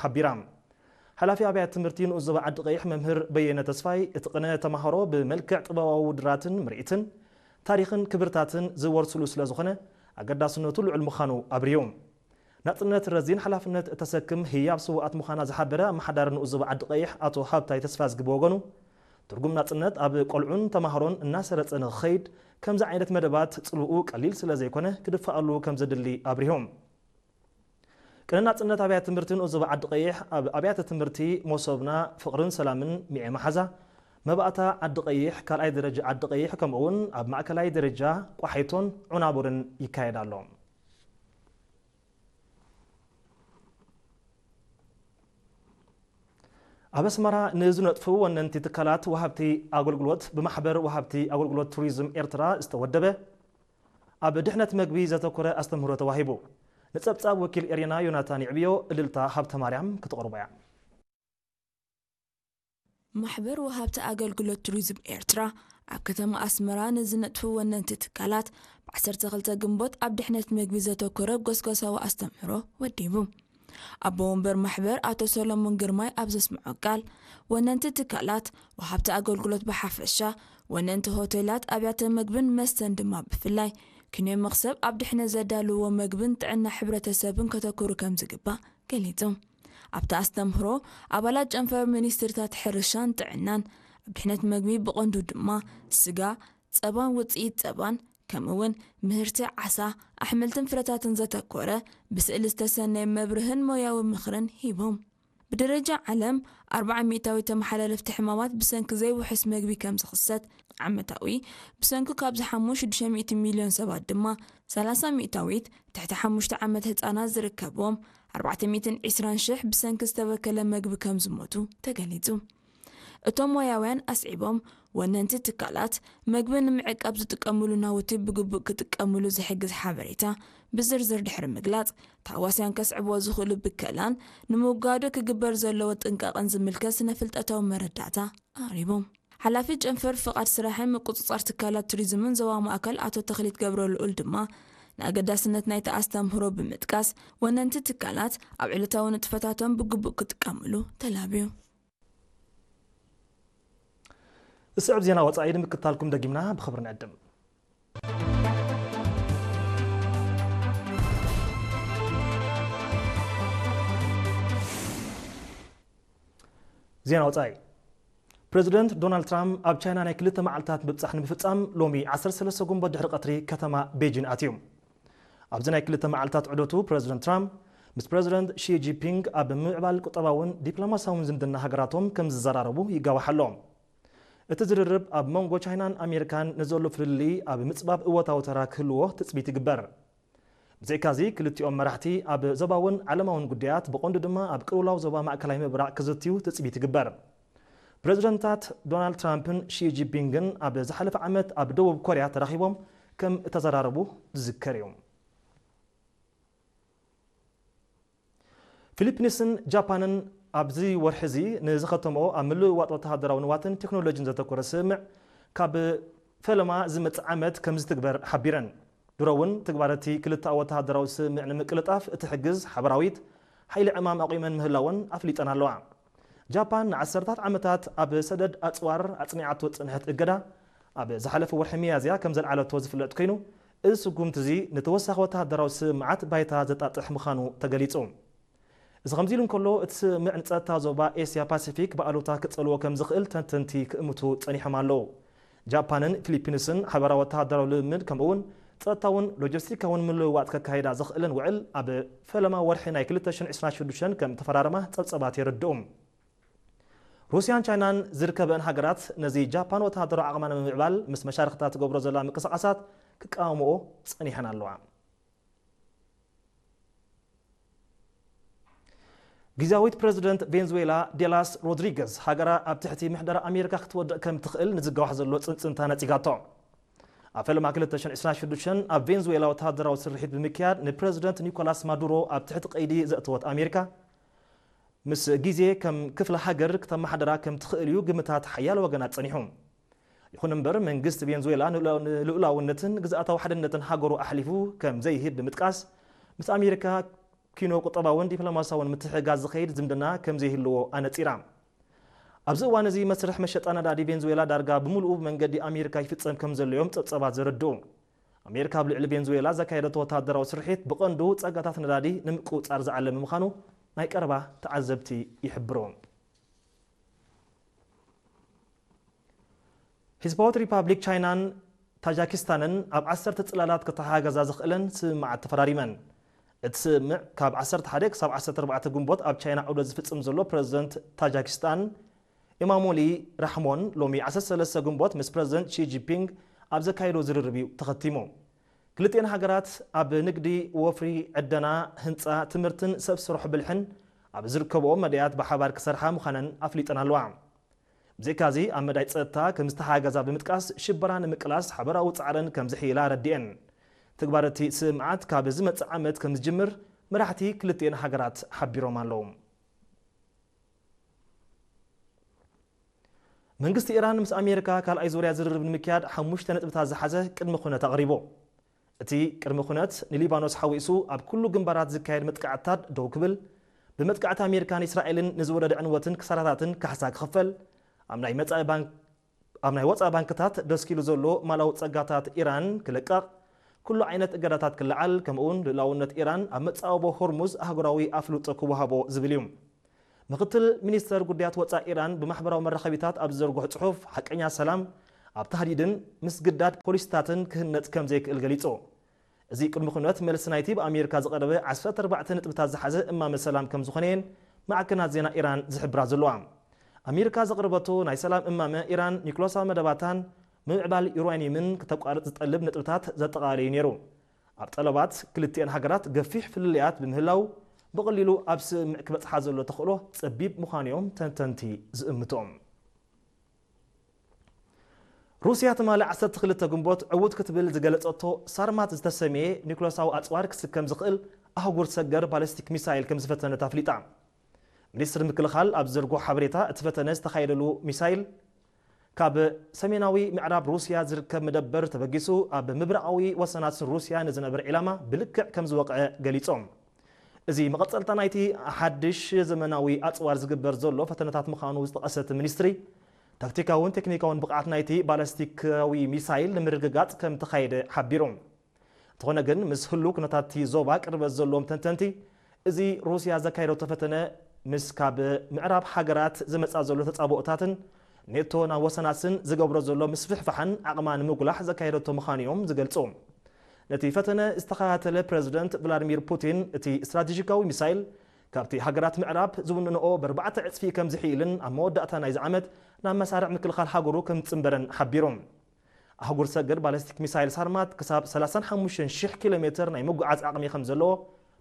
ሓቢራ። ሓላፊ ኣብያተ ትምህርቲ ንኡስ ዞባ ዓዲ ቀይሕ መምህር በየነ ተስፋይ፣ እቲ ቅነ ተማሃሮ ብመልክዕ ጥበባዊ ውድድራትን ምርኢትን ታሪኽን ክብርታትን ዝወርስሉ ስለ ዝኾነ ኣገዳስነቱ ልዑል ምዃኑ ኣብርሁ። ናጽነት ረዚን ሓላፍነት እተሰክም ህያብ ስውኣት ምዃና ዝሓበረ ኣመሓዳሪ ንኡስ ዞባ ዓዲ ቀይሕ ኣቶ ሃብታይ ተስፋዝጊ ብወገኑ፣ ትርጉም ናጽነት ኣብ ቆልዑን ተማሃሮን እናሰረጸ ንኽኸይድ ከምዚ ዓይነት መደባት ጽልኡ ቀሊል ስለ ዘይኮነ ክድፋኣሉ ከም ዘድሊ ኣብሪሆም። ቅነ ናጽነት ኣብያተ ትምህርቲ ንኡስ ዞባ ዓዲ ቀይሕ ኣብ ኣብያተ ትምህርቲ መሶብና ፍቕርን ሰላምን ሚዔ መሓዛ መባእታ ዓዲ ቀይሕ ካልኣይ ደረጃ ዓዲ ቀይሕ ከምኡ እውን ኣብ ማእከላይ ደረጃ ቋሒቶን ዑናቡርን ይካየድ ኣሎ። ኣብ ኣስመራ ንዝነጥፉ ወነንቲ ትካላት ወሃብቲ ኣገልግሎት ብማሕበር ወሃብቲ ኣገልግሎት ቱሪዝም ኤርትራ ዝተወደበ ኣብ ድሕነት መግቢ ዘተኮረ ኣስተምህሮ ተዋሂቡ። ንጸብጻብ ወኪል ኤርና ዮናታን ይዕብዮ፣ እልልታ ሃብተ ማርያም ክትቕርቦ እያ። ማሕበር ወሃብቲ ኣገልግሎት ቱሪዝም ኤርትራ ኣብ ከተማ ኣስመራ ንዝነጥፉ ወነንቲ ትካላት ብ12 ግንቦት ኣብ ድሕነት መግቢ ዘተኮረ ጎስጓሳዊ ኣስተምህሮ ወዲቡ። ኣቦ ወንበር ማሕበር ኣቶ ሰሎሞን ግርማይ ኣብ ዘስምዖ ቃል፣ ወነንቲ ትካላት፣ ወሃብቲ ኣገልግሎት ብሓፈሻ፣ ወነንቲ ሆቴላት፣ ኣብያተ መግብን መስተን ድማ ብፍላይ ክንዮ መኽሰብ ኣብ ድሕነት ዘዳልዎ መግብን ጥዕና ሕብረተሰብን ከተኩሩ ከም ዝግባእ ገሊጹ። ኣብቲ ኣስተምህሮ ኣባላት ጨንፈር ሚኒስትርታት ሕርሻን ጥዕናን ኣብ ድሕነት መግቢ ብቐንዱ ድማ ስጋ፣ ጸባን ውጽኢት ጸባን ከምኡ እውን ምህርቲ ዓሳ፣ ኣሕምልትን ፍረታትን ዘተኮረ ብስእሊ ዝተሰነየ መብርህን ሞያዊ ምኽርን ሂቦም። ብደረጃ ዓለም ኣርብዓ ሚእታዊት ተመሓላለፍቲ ሕማማት ብሰንኪ ዘይውሑስ መግቢ ከም ዝኽሰት፣ ዓመታዊ ብሰንኪ ካብ ዝሓሙ ሽዱሽተ ሚእቲ ሚልዮን ሰባት ድማ ሰላሳ ሚእታዊት ትሕቲ ሓሙሽተ ዓመት ህጻናት ዝርከብዎም ኣርባዕተ ሚእትን ዕስራን ሽሕ ብሰንኪ ዝተበከለ መግቢ ከም ዝሞቱ ተገሊጹ። እቶም ሞያውያን ኣስዒቦም፣ ወነንቲ ትካላት መግቢ ንምዕቃብ ዝጥቀምሉ ናውቲ ብግቡእ ክጥቀምሉ ዝሕግዝ ሓበሬታ ብዝርዝር ድሕሪ ምግላጽ፣ ታዋስያን ከስዕብዎ ዝኽእሉ ብከላን ንምውጋዱ ክግበር ዘለዎ ጥንቃቐን ዝምልከት ስነ-ፍልጠታዊ መረዳእታ ኣቕሪቦም። ሓላፊ ጨንፈር ፍቓድ ስራሕን ምቁጽጻር ትካላት ቱሪዝምን ዞባ ማእከል ኣቶ ተኽሊት ገብረልኡል ድማ ንኣገዳስነት ናይቲ ኣስተምህሮ ብምጥቃስ፣ ወነንቲ ትካላት ኣብ ዕለታዊ ንጥፈታቶም ብግቡእ ክጥቀምሉ ተላብዩ። ዝስዕብ ዜና ወጻኢ ንምክታልኩም ደጊምና ብኽብሪ ንዕድም። ዜና ወጻኢ። ፕሬዚደንት ዶናልድ ትራምፕ ኣብ ቻይና ናይ ክልተ መዓልታት ምብጻሕ ንምፍጻም ሎሚ ዓሰርተ ሰለስተ ጉንበት ድሕሪ ቀትሪ ከተማ ቤጂን ኣትዩ። ኣብዚ ናይ ክልተ መዓልታት ዑደቱ ፕሬዚደንት ትራምፕ ምስ ፕሬዚደንት ሺ ጂንፒንግ ኣብ ምምዕባል ቁጠባውን ዲፕሎማሲያውን ዝምድና ሃገራቶም ከም ዝዘራረቡ ይጋዋሕ ኣሎ። እቲ ዝርርብ ኣብ መንጎ ቻይናን ኣሜሪካን ንዘሎ ፍልልይ ኣብ ምጽባብ እወታዊ ተራ ክህልዎ ትጽቢት ይግበር። ብዘይካዚ ክልቲኦም መራሕቲ ኣብ ዞባውን ዓለማውን ጉዳያት ብቐንዱ ድማ ኣብ ቅልውላው ዞባ ማእከላይ ምብራቕ ክዝትዩ ትጽቢት ይግበር። ፕሬዚደንታት ዶናልድ ትራምፕን ሺ ጂንፒንግን ኣብ ዝሓለፈ ዓመት ኣብ ደቡብ ኮርያ ተራኺቦም ከም እተዘራረቡ ዝዝከር እዩ። ፊሊፒንስን ጃፓንን ኣብዚ ወርሒ እዚ ንዝኸተምኦ ኣብ ምልውዋጥ ወተሃደራዊ ንዋትን ቴክኖሎጂን ዘተኮረ ስምምዕ ካብ ፈለማ ዝመጽእ ዓመት ከም ዝትግበር ሓቢረን። ድሮ እውን ትግባረቲ ክልተኣዊ ወተሃደራዊ ስምምዕ ንምቅልጣፍ እትሕግዝ ሓበራዊት ሓይሊ ዕማም ኣቑመን ምህላወን ኣፍሊጠን ኣለዋ። ጃፓን ንዓሰርታት ዓመታት ኣብ ሰደድ ኣጽዋር ኣጽኒዓቶ ዝጸንሐት እገዳ ኣብ ዝሓለፈ ወርሒ ሚያዝያ ከም ዘልዓለቶ ዝፍለጥ ኮይኑ፣ እዚ ስጉምቲ እዚ ንተወሳኺ ወተሃደራዊ ስምምዓት ባይታ ዘጣጥሕ ምዃኑ ተገሊጹ። እዚ ከምዚ ኢሉ እንከሎ፣ እቲ ስምምዕ ንጸጥታ ዞባ ኤስያ ፓሲፊክ ብኣሉታ ክጸልዎ ከም ዝኽእል ተንተንቲ ክእምቱ ጸኒሖም ኣለዉ። ጃፓንን ፊሊፒንስን ሓበራዊ ወተሃደራዊ ልምምድ ከምኡ እውን ጸጥታውን ሎጂስቲካውን ምልውዋጥ ከካይዳ ዘኽእለን ውዕል ኣብ ፈለማ ወርሒ ናይ ክልተ ሽሕን ዕስራን ሽዱሽተን ከም ተፈራረማ ጸብጸባት የረድኡ። ሩስያን ቻይናን ዝርከበን ሃገራት ነዚ ጃፓን ወተሃደራዊ ዓቕማ ንምምዕባል ምስ መሻርኽታ ትገብሮ ዘላ ምንቅስቓሳት ክቃወምኦ ጸኒሐን ኣለዋ። ግዝያዊት ፕረዚደንት ቬንዙዌላ ዴላስ ሮድሪገዝ ሃገራ ኣብ ትሕቲ ምሕደራ ኣሜሪካ ክትወድቕ ከም ትኽእል ንዝጋዋሕ ዘሎ ጽንጽንታ ነጺጋቶ። ኣብ ፈለማ ክልተ ሽሕን ዕስራን ሽዱሽተን ኣብ ቬንዙዌላ ወተሃደራዊ ስርሒት ብምክያድ ንፕረዚደንት ኒኮላስ ማዱሮ ኣብ ትሕቲ ቀይዲ ዘእተወት ኣሜሪካ፣ ምስ ግዜ ከም ክፍለ ሃገር ክተመሓደራ ከም ትኽእል እዩ ግምታት ሓያለ ወገናት ጸኒሑ። ይኹን እምበር መንግስቲ ቬንዙዌላ ንልኡላውነትን ግዝኣታዊ ሓድነትን ሃገሩ ኣሕሊፉ ከም ዘይህብ ብምጥቃስ፣ ምስ ኣሜሪካ ኪኖ ቁጠባውን ዲፕሎማሲያውን ምትሕግጋዝ ዝኸይድ ዝምድና ከም ዘይህልዎ ኣነጺራ። ኣብዚ እዋን እዚ መስርሕ መሸጣ ነዳዲ ቬንዙዌላ ዳርጋ ብምሉኡ ብመንገዲ ኣሜሪካ ይፍጸም ከም ዘሎ እዮም ጸብጻባት ዘረድኡ። ኣሜሪካ ኣብ ልዕሊ ቬንዙዌላ ዘካየደቶ ወታደራዊ ስርሒት ብቐንዱ ጸጋታት ነዳዲ ንምቁጽጻር ዝዓለመ ምዃኑ ናይ ቀረባ ተዓዘብቲ ይሕብሩ። ህዝባዊት ሪፓብሊክ ቻይናን ታጃኪስታንን ኣብ ዓሰርተ ጽላላት ክተሓጋገዛ ዝኽእለን ስምምዓት ተፈራሪመን። እቲ ስምምዕ ካብ ዓሰርተ ሓደ ክሳብ ዓሰርተ ኣርባዕተ ግንቦት ኣብ ቻይና ዑደት ዝፍጽም ዘሎ ፕረዚደንት ታጃኪስታን ኢማሞሊ ራሕሞን ሎሚ ዓሰርተ ሰለስተ ግንቦት ምስ ፕረዚደንት ሺ ጂንፒንግ ኣብ ዘካየዶ ዝርርብ እዩ ተኸቲሙ። ክልቲኤን ሃገራት ኣብ ንግዲ፣ ወፍሪ፣ ዕደና፣ ህንጻ፣ ትምህርትን ሰብ ስራሕ ብልሕን ኣብ ዝርከብኦ መዳያት ብሓባር ክሰርሓ ምዃነን ኣፍሊጠን ኣለዋ። ብዘይካዚ ኣብ መዳይ ጸጥታ ከም ዝተሓጋገዛ ብምጥቃስ ሽበራ ንምቅላስ ሓበራዊ ጻዕረን ከም ዝሕይላ ኣረዲኤን። ትግባር እቲ ስምምዓት ካብ ዝመጽእ ዓመት ከም ዝጅምር መራሕቲ ክልቲኤን ሃገራት ሓቢሮም ኣለዉ። መንግስቲ ኢራን ምስ ኣሜሪካ ካልኣይ ዙርያ ዝርርብ ንምክያድ ሓሙሽተ ነጥብታት ዝሓዘ ቅድመ ኩነት ኣቕሪቡ። እቲ ቅድመ ኩነት ንሊባኖስ ሓዊሱ ኣብ ኩሉ ግንባራት ዝካየድ መጥቃዕትታት ደው ክብል፣ ብመጥቃዕቲ ኣሜሪካን እስራኤልን ንዝወረደ ዕንወትን ክሳራታትን ካሕሳ ክኽፈል፣ ኣብ ናይ መጻኢ ባንክ ኣብ ናይ ወጻኢ ባንክታት ደስኪሉ ዘሎ ማላዊ ጸጋታት ኢራን ክልቀቕ፣ ኩሉ ዓይነት እገዳታት ክለዓል፣ ከምኡውን ልኡላውነት ኢራን ኣብ መጻወቦ ሆርሙዝ ኣህጉራዊ ኣፍልጦ ክወሃቦ ዝብል እዩ። ምክትል ሚኒስተር ጉዳያት ወጻኢ ኢራን ብማሕበራዊ መራኸቢታት ኣብ ዝዘርግሖ ጽሑፍ፣ ሓቀኛ ሰላም ኣብ ታህዲድን ምስግዳድ ፖሊሲታትን ክህነጽ ከም ዘይክእል ገሊጹ። እዚ ቅድሚ ኩነት መልሲ ናይቲ ብኣሜሪካ ዝቐረበ ዓሰርተ ኣርባዕተ ነጥብታት ዝሓዘ እማመ ሰላም ከም ዝኾነ እየን ማዕከናት ዜና ኢራን ዝሕብራ ዘለዋ። ኣሜሪካ ዘቕረበቶ ናይ ሰላም እማመ፣ ኢራን ኒክሎሳዊ መደባታን ምምዕባል ዩራኒየምን ክተቋርጽ ዝጠልብ ነጥብታት ዘጠቓለለ እዩ ነይሩ። ኣብ ጠለባት ክልቲኤን ሃገራት ገፊሕ ፍልልያት ብምህላው፣ ብቐሊሉ ኣብ ስምምዕ ክበጽሓ ዘሎ ተኽእሎ ጸቢብ ምዃኑ እዮም ተንተንቲ ዝእምቱ። ሩስያ ትማሊ ዓሰርተ ክልተ ግንቦት ዕዉት ክትብል ዝገለጸቶ ሳርማት ዝተሰምየ ኒኩለሳዊ ኣጽዋር ክስከም ዝኽእል ኣህጉር ሰገር ባሊስቲክ ሚሳይል ከም ዝፈተነት ኣፍሊጣ። ሚኒስትሪ ምክልኻል ኣብ ዝዘርግሖ ሓበሬታ፣ እቲ ፈተነ ዝተኻየደሉ ሚሳይል ካብ ሰሜናዊ ምዕራብ ሩስያ ዝርከብ መደበር ተበጊሱ ኣብ ምብራቓዊ ወሰናት ሩስያ ንዝነበረ ዒላማ ብልክዕ ከም ዝወቕዐ ገሊጾም። እዚ መቐጸልታ ናይቲ ሓድሽ ዘመናዊ ኣጽዋር ዝግበር ዘሎ ፈተነታት ምዃኑ ዝጠቐሰ እቲ ሚኒስትሪ፣ ታክቲካውን ቴክኒካውን ብቕዓት ናይቲ ባላስቲካዊ ሚሳይል ንምርግጋጽ ከም ተኻየደ ሓቢሩ። እንተኾነ ግን፣ ምስ ህሉው ኩነታት እቲ ዞባ ቅርበት ዘለዎም ተንተንቲ፣ እዚ ሩስያ ዘካየደቶ ፈተነ ምስ ካብ ምዕራብ ሃገራት ዝመጻ ዘሎ ተጻብኦታትን ኔቶ ናብ ወሰናስን ዝገብሮ ዘሎ ምስፍሕፋሕን ዓቕማ ንምጉላሕ ዘካየደቶ ምዃኑ እዮም ዝገልጹ። ነቲ ፈተነ ዝተኸታተለ ፕረዚደንት ቭላድሚር ፑቲን፣ እቲ ስትራቴጂካዊ ሚሳይል ካብቲ ሃገራት ምዕራብ ዝውንንኦ ብኣርባዕተ ዕጽፊ ከም ዝሕይልን ኣብ መወዳእታ ናይዚ ዓመት ናብ መሳርዕ ምክልኻል ሃገሩ ከም ዝጽንበረን ሓቢሩ። ኣህጉር ሰገር ባሊስቲክ ሚሳይል ሳርማት ክሳብ ሰላሳን ሓሙሽተን ሽሕ ኪሎ ሜትር ናይ ምጉዓዝ ዓቕሚ ከም ዘለዎ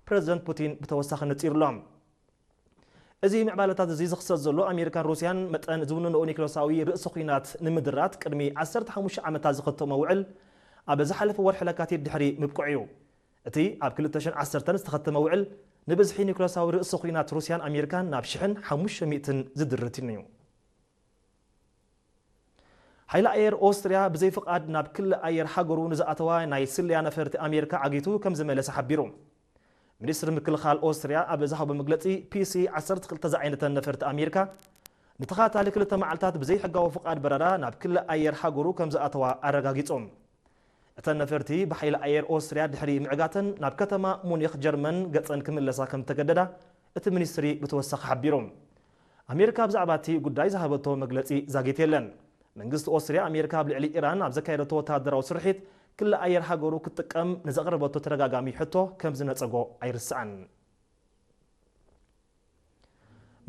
ፕረዚደንት ፑቲን ብተወሳኺ ነጺሩ ኣሎ። እዚ ምዕባለታት እዚ ዝኽሰት ዘሎ፣ ኣሜሪካን ሩስያን መጠን ዝውንንኦ ኒክለሳዊ ርእሲ ኲናት ንምድራት ቅድሚ ዓሰርተ ሓሙሽተ ዓመታት ዝኸተሞ ውዕል ኣብ ዝሓለፈ ወርሒ ለካቲት ድሕሪ ምብቅዑ እዩ። እቲ ኣብ ክልተ ሽሕን ዓሰርተን ዝተኸተመ ውዕል ንብዝሒ ኒክለሳዊ ርእሲ ኲናት ሩስያን ኣሜሪካን ናብ ሽሕን ሓሙሽተ ሚእትን ዝድርት እዩ። ሓይሊ ኣየር ኦስትርያ ብዘይፍቓድ ናብ ክሊ ኣየር ሃገሩ ንዝኣተዋ ናይ ስለያ ነፈርቲ ኣሜሪካ ዓጊቱ ከም ዝመለሰ ሓቢሩ። ሚኒስትሪ ምክልኻል ኦስትርያ ኣብ ዝሃቦ መግለጺ፣ ፒሲ ዓሰርተ ክልተ ዝዓይነተን ነፈርቲ ኣሜሪካ ንተኸታታሊ ክልተ መዓልታት ብዘይሕጋዊ ፍቓድ በረራ ናብ ክሊ ኣየር ሃገሩ ከም ዝኣተዋ ኣረጋጊጾም። እተን ነፈርቲ ብሓይሊ ኣየር ኦስትርያ ድሕሪ ምዕጋተን ናብ ከተማ ሙኒኽ ጀርመን ገጸን ክምለሳ ከም እተገደዳ እቲ ሚኒስትሪ ብተወሳኺ ሓቢሩ። ኣሜሪካ ብዛዕባ እቲ ጉዳይ ዝሃበቶ መግለጺ ዛጊት የለን። መንግስቲ ኦስትርያ፣ ኣሜሪካ ኣብ ልዕሊ ኢራን ኣብ ዘካየደቶ ወተሃደራዊ ስርሒት ክሊ ኣየር ሃገሩ ክትጥቀም ንዘቕረበቶ ተደጋጋሚ ሕቶ ከም ዝነጸጎ ኣይርስዓን።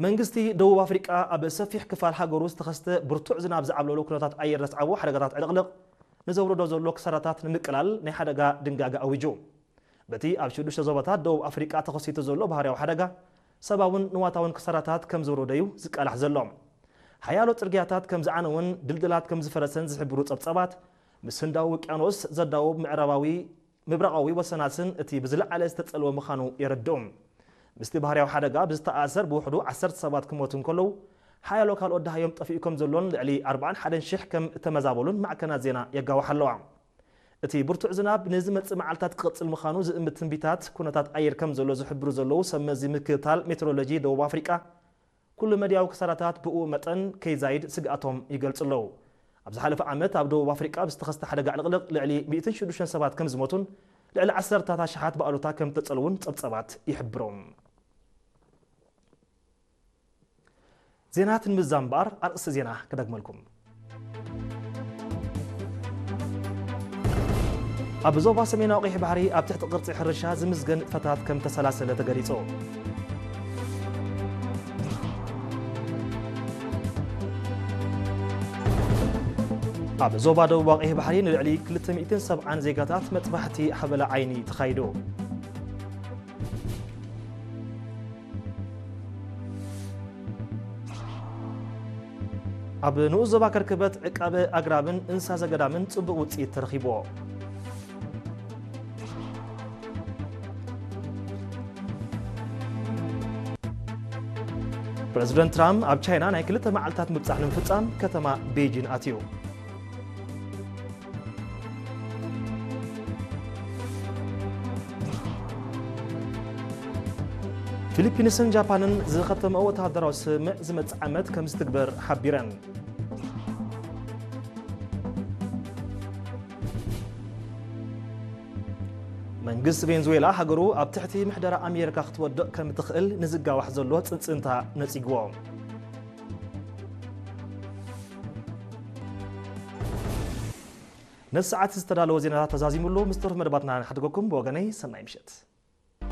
መንግስቲ ደቡብ ኣፍሪቃ ኣብ ሰፊሕ ክፋል ሃገሩ ዝተኸስተ ብርቱዕ ዝናብ ዝዓብለሎ ኩነታት ኣየር ዘስዓቦ ሓደጋታት ዕልቕልቕ ንዘውርዶ ዘሎ ክሳራታት ንምቅላል ናይ ሓደጋ ድንጋገ ኣዊጁ። በቲ ኣብ ሽዱሽተ ዞባታት ደቡብ ኣፍሪቃ ተኸሲቱ ዘሎ ባህርያዊ ሓደጋ ሰብኣውን ንዋታውን ክሳራታት ከም ዝወረዶ እዩ ዝቃላሕ ዘሎ። ሓያሎ ጽርግያታት ከም ዝዓነወን ድልድላት ከም ዝፈረሰን ዝሕብሩ ጸብጻባት፣ ምስ ህንዳዊ ውቅያኖስ ዘዳውብ ምዕራባዊ ምብራቓዊ ወሰናስን እቲ ብዝለዓለ ዝተጸልወ ምዃኑ የረድኡ። ምስቲ ባህርያዊ ሓደጋ ብዝተኣሳሰር ብውሕዱ ዓሰርተ ሰባት ክሞቱ እንከለዉ፣ ሓያሎ ካልኦት ደሃዮም ጠፊኡ ከም ዘሎን ልዕሊ ኣርባዓን ሓደን ሽሕ ከም እተመዛበሉን ማዕከናት ዜና የጋውሓ ኣለዋ። እቲ ብርቱዕ ዝናብ ንዝመጽእ መዓልታት ክቕጽል ምዃኑ ዝእምት ትንቢታት ኩነታት ኣየር ከም ዘሎ ዝሕብሩ ዘለዉ ሰብ መዚ ምክትታል ሜትሮሎጂ ደቡብ ኣፍሪቃ፣ ኩሉ መድያዊ ክሳራታት ብኡ መጠን ከይዛይድ ስግኣቶም ይገልጹ ኣለዉ። ኣብ ዝሓለፈ ዓመት ኣብ ደቡብ ኣፍሪቃ ብዝተኸስተ ሓደጋ ዕልቕልቕ ልዕሊ ሚእትን ሽዱሽተን ሰባት ከም ዝሞቱን ልዕሊ ዓሰርታት ኣሽሓት ብኣሉታ ከም ተጸልውን ጸብጸባት ይሕብሩ። ዜናት ንምዛም እምበኣር ኣርእስቲ ዜና ክደግመልኩም። ኣብ ዞባ ሰሜናዊ ቀይሕ ባሕሪ ኣብ ትሕቲ ቅርጺ ሕርሻ ዝምዝገን ንጥፈታት ከም ተሰላሰለ ተገሊጹ። ኣብ ዞባ ደቡባዊ ቀይሕ ባሕሪ ንልዕሊ ክልተ ሚእትን ሰብዓን ዜጋታት መጥባሕቲ ሓበላ ዓይኒ ተኻይዱ። ኣብ ንኡስ ዞባ ከርክበት ዕቃበ ኣግራብን እንስሳ ዘገዳምን ጽቡቕ ውጽኢት ተረኺብዎ። ፕረዚደንት ትራምፕ ኣብ ቻይና ናይ ክልተ መዓልታት ምብጻሕ ንምፍጻም ከተማ ቤጂን ኣትዩ። ፊሊፒንስን ጃፓንን ዝኸተመኦ ወተሃደራዊ ስምምዕ ዝመጽእ ዓመት ከም ዝትግበር ሓቢረን። መንግስቲ ቬንዙዌላ ሃገሩ ኣብ ትሕቲ ምሕደራ ኣሜሪካ ክትወድቕ ከም ትኽእል ንዝጋዋሕ ዘሎ ጽንጽንታ ነጺግዎ። ነዚ ሰዓት ዝተዳለወ ዜናታት ተዛዚሙሉ፣ ምስ ተረፉ መደባትና ንሓድገኩም። ብወገነይ ሰናይ ምሸት።